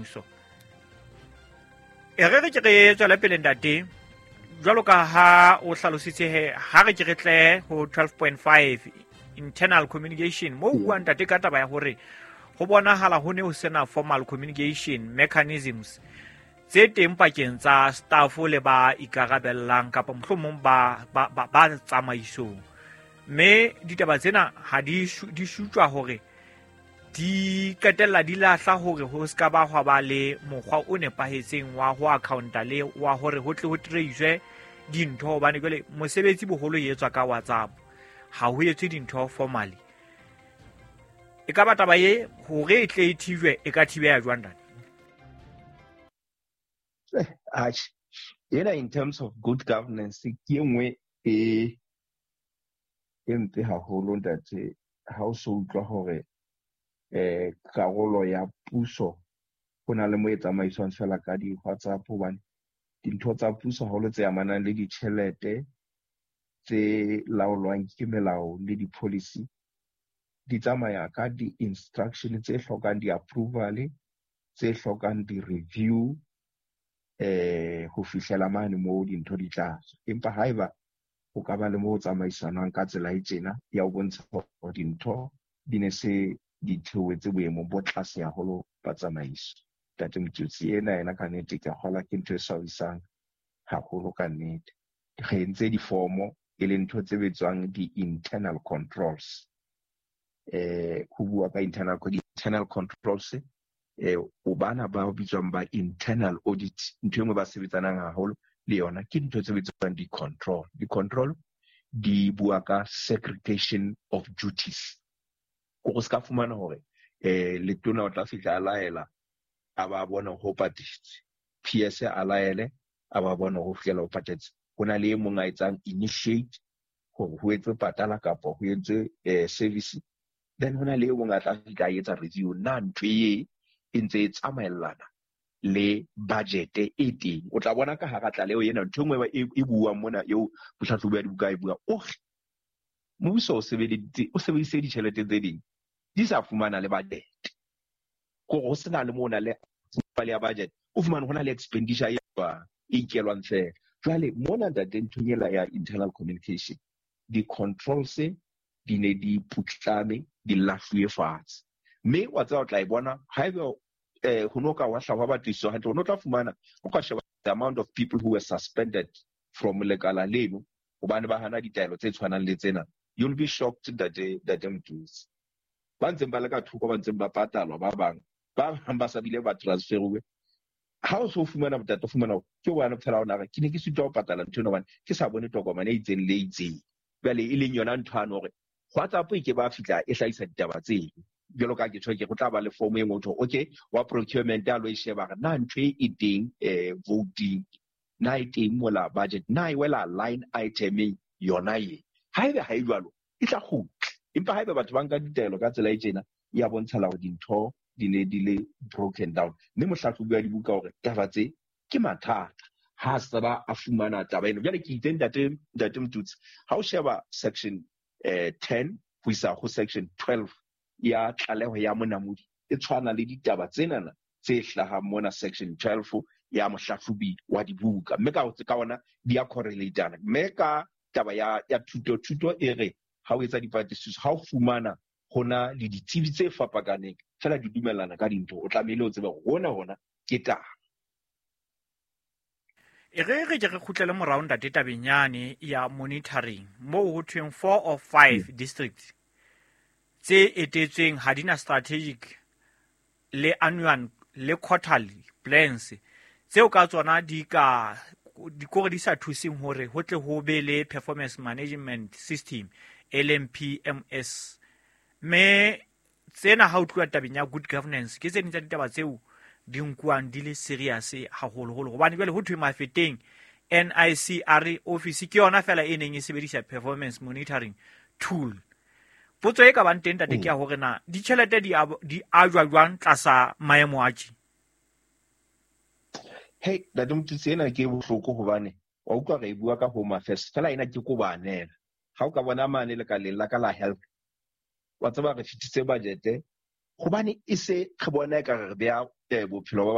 mmuso. E re re ke re tswele pele, ntate, jwalo ka ha o hlalositse he, ha re ke re tle ho 12.5, internal communication, mo o buang, ntate, ka taba ya hore ho bonahala ho ne ho sena formal communication mechanisms tse teng pakeng tsa staff le ba ikarabellang kapa mohlomong ba tsamaisong, mme ditaba tsena ha di shutjwa hore di qetella di lahla hore ho se ka ba hwa ba le mokgwa o nepahetseng wa ho accounta le wa hore ho tle ho trace dintho, hobane jwale mosebetsi boholo e etswa ka WhatsApp, ha ho etswe dintho formally. E ka ba taba e hore e tle e thijwe, e ka thibeha jwang, ntate? Atjhe, ena in terms of good governance ke e nngwe e mpe haholo, ntate. Ha o so utlwa hore karolo ya puso ho na le mo e tsamaiswang fela ka di-WhatsApp, hobane dintho tsa puso haholo tse amanang le ditjhelete tse laolwang ke melao le di-policy di tsamaya ka di-instruction tse hlokang di-approval, tse hlokang di-review ho fihlela mane moo dintho di tla tswa. Empa haeba ho ka ba le mo tsamaisanwang ka tsela e tjena, ya ho bontsha hore dintho di ne se di theohetse boemong bo tlase haholo ba tsamaiso. Ntate Motsotsi, ena ena ka nnete ke a kgolwa ke ntho e swabisang haholo ka nnete. Re entse difomo e leng ntho tse bitswang di-internal controls. Ho bua ka internal controls, o bana ba bitswang ba internal audit, ntho e nngwe ba sebetsanang haholo le yona ke dintho tse bitswang di-control. Di-control di bua ka segregation of duties. Ko se ka fumana hore letona o tla fihla a laela, a ba bona ho patetse, PS a laele, a ba bona ho fihlela ho patetse. Ho na le e mong a etsang initiate hore ho etswe patala kapa ho etswe service, then ho na le e mong a tla fihla a etsa review na ntho e e ntse e tsamaellana le budget e teng. O tla bona ka hara tlaleho ena ntho e nngwe e buang mona eo mohlahlobi wa dibuka e bua o re mmuso o sebeditse, o sebedisitse ditjhelete tse ding di sa fumana le budget, kore ho sena le mona le ya budget, o fumane ho na le expenditure e tswang e ikelwang fela. Jwale mona, ntate, nthong ela ya internal communication, di-controls di ne di putlame, di lahluwe fatshe, mme wa tseba o tla e bona haeba ho no ka wa hlahwa patlisiso hantle, o no tla fumana o ka sheba the amount of people who were suspended from lekala leno hobane ba hana ditaelo tse tshwanang le tsena. You'll be shocked, ntate Motutsi, ba ntseng ba le ka thoko, ba ntseng ba patalwa, ba bang ba sa bile ba transferuwe. Ha o so fumana bothata, o fumana ke hobane phela ona re ke ne ke sitwa ho patala ntho ena hobane ke sa bone tokomane e itseng le e itseng. Jwale e leng yona ntho ano hore WhatsApp e ke ba fihla e hlahisa ditaba tseno, jwalo ka ke tjho ke go tla ba le form e nngwe ho, okay, wa procurement a lo e sheba re na ntho e teng voting, na e teng mola budget, na e wela line itemeng yona e. Haebe ha e jwalo, e tla kgutla. Empa haebe batho ba nka ditaelo ka tsela e tjena, ya bontshala hore dintho di ne di le broken down. Mme mohlahlobi wa dibuka hore taba tse ke mathata ha sa ba a fumana taba eno. Jwale ke itse, ntate Motutsi, ha o sheba section 10 ho isa ho section 12 ya tlaleho ya Monamodi, e tshwana le ditaba tsenana tse hlahang mona section 12 ya mohlahlobi wa dibuka, mme ka ona di a correlatana. Mme ka taba ya thuto e re ha o etsa dipatlisiso, ha o fumana hona le ditsebi tse fapakaneng fela di dumellana ka dintho, o tlamehile o tsebe hore hona ke taba. E re re ke re kgutlele morao, ntate, tabeng yane ya monitoring, moo ho thweng four of five districts tse etetsweng ha di na strategic le annual le quarterly plans tseo ka tsona di ka dikore di sa thuseng hore ho tle ho be le performance management system, e leng PMS. Mme tsena ha o tluwa tabeng ya good governance, ke tse ding tsa ditaba tseo di nkuwang di le serious haholoholo, hobane jwale ho thwe Mafeteng NICR office ke yona fela e neng e sebedisa performance monitoring tool. Potso e ka bang teng, tate, ke ya hore na ditjhelete di ajwa jwang tlasa maemo a tje? Hey, ntate Motutsi, ena ke bohloko hobane wa utlwa re e bua ka Home Affairs fela, ena ke kobanela. Ha o ka bona mane lekaleng la ka la health, wa tseba re fetise budget hobane e se re bona ekare re beha bophelo ba